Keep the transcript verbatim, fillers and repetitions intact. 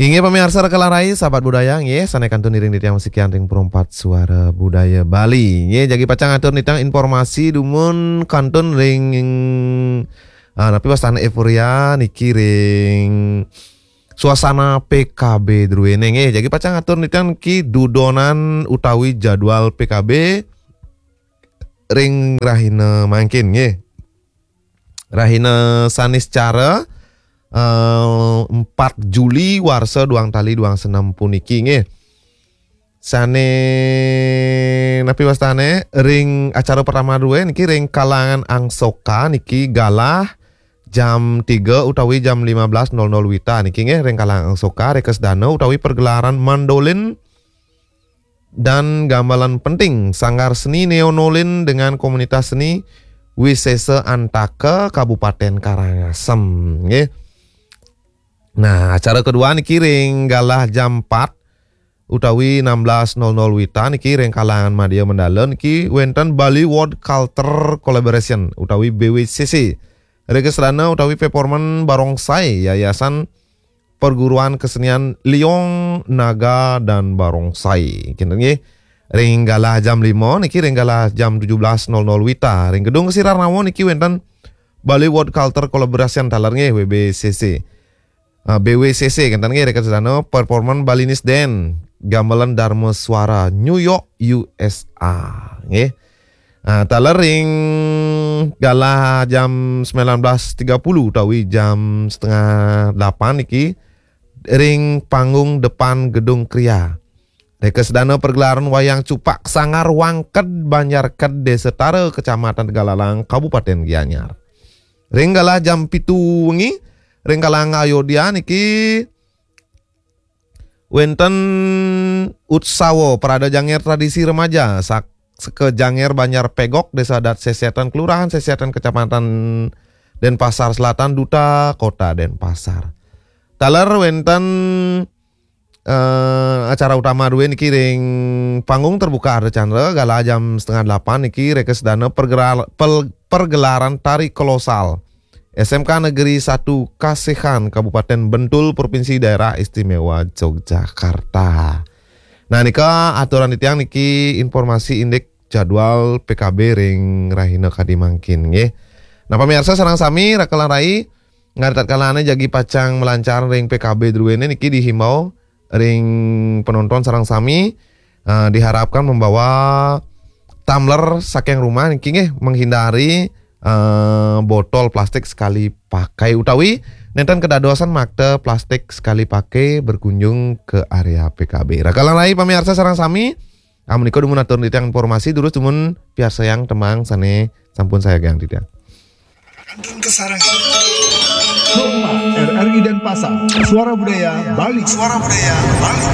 Inggih pamiarsa Raka lan Rai, sahabat budaya, nggih, sané kantun iring titiang masikian ring Perempat Suara Budaya Bali. Nggih, jagi pacang atur titiang informasi dumun kantun ring, ah, napi wastané euforia niki ring suasana P K B druéné, nggih. Jagi pacang atur titiang niki dudonan utawi jadwal P K B ring rahina mangkin, nggih. Rahina Saniscara, eh, empat Juli warsa duang tali duang senem puniki, nggih. Sané napi wastané ring acara pertama drué niki ring Kalangan Angsoka niki galah jam tiga utawi jam lima belas nol nol wita niki, nggih, ring Kalangan Angsoka, réka sedana utawi pergelaran mandolin dan gamelan penting Sanggar Seni Neonolin dengan Komunitas Seni Wisesa Antaka Kabupaten Karangasem, nggih. Nah, acara kedua niki ring galah jam empat utawi enam belas nol nol wita niki ring Kalangan Madya Mandala niki wénten Bali World Culture Collaboration utawi B W C C. Réka sedana utawi performan barongsai Yayasan Perguruan Kesenian Liong Naga dan Barongsai. Kinten nggih. Ring galah jam lima niki ring galah jam tujuh belas nol nol wita. Ring Gedung Kesirarnawa niki wénten Bali World Culture Collaboration taler nggih, W B C C. Ah, B W C C kinten nggih, réka sedana performan Balinese Dance gamelan Dharma Suara New York U S A nggih. Ah, taler ring galah jam sembilan belas tiga puluh utawi jam setengah delapan niki ring panggung depan Gedung Kria. Réka sedana pergelaran wayang cupak Sanggar Wangked Banjar Ked Désa Tara Kecamatan Tegalalang Kabupaten Gianyar. Ring galah jam pitu wengi ring Kalangan Ayodya niki wénten utsawa parada jangér tradisi remaja sak-, saka Jangér Banjar Pegok, Désa Adat Sesetan, Kelurahan Sesetan, Kecamatan Denpasar Selatan, Duta Kota Denpasar. Taler wénten, eh, acara utama drué niki ring panggung terbuka Ardha Candra, galah jam setengah delapan niki réka sedana pergeral-, pel-, pergelaran tari kolosal S M K Negeri Satu Kasehan, Kabupaten Bantul, Provinsi Daerah Istimewa Yogyakarta. Nah, nika aturan titiang niki informasi indik jadwal P K B ring rahina kadi mangkin, nggih. Nah, pamiarsa sareng sami, Raka lan Rai, ngaritatkalané jagi pacang malancar ring P K B druéné niki dihimbau ring penonton sareng sami, eh, diharapkan membawa tumbler saking rumah niki, nggih, menghindari, eh, botol plastik sekali pakai utawi nénten kedadosan makta plastik sekali pakai berkunjung ke area P K B. Raka lan Rai pamiarsa sareng sami, amunika dumun atur titiang informasi, durus dumun piarsayang tembang sané sampun sayagiang titiang. Kantun kasarengin. Rumah R R I Denpasar, Suara Budaya Bali. Suara Budaya Bali.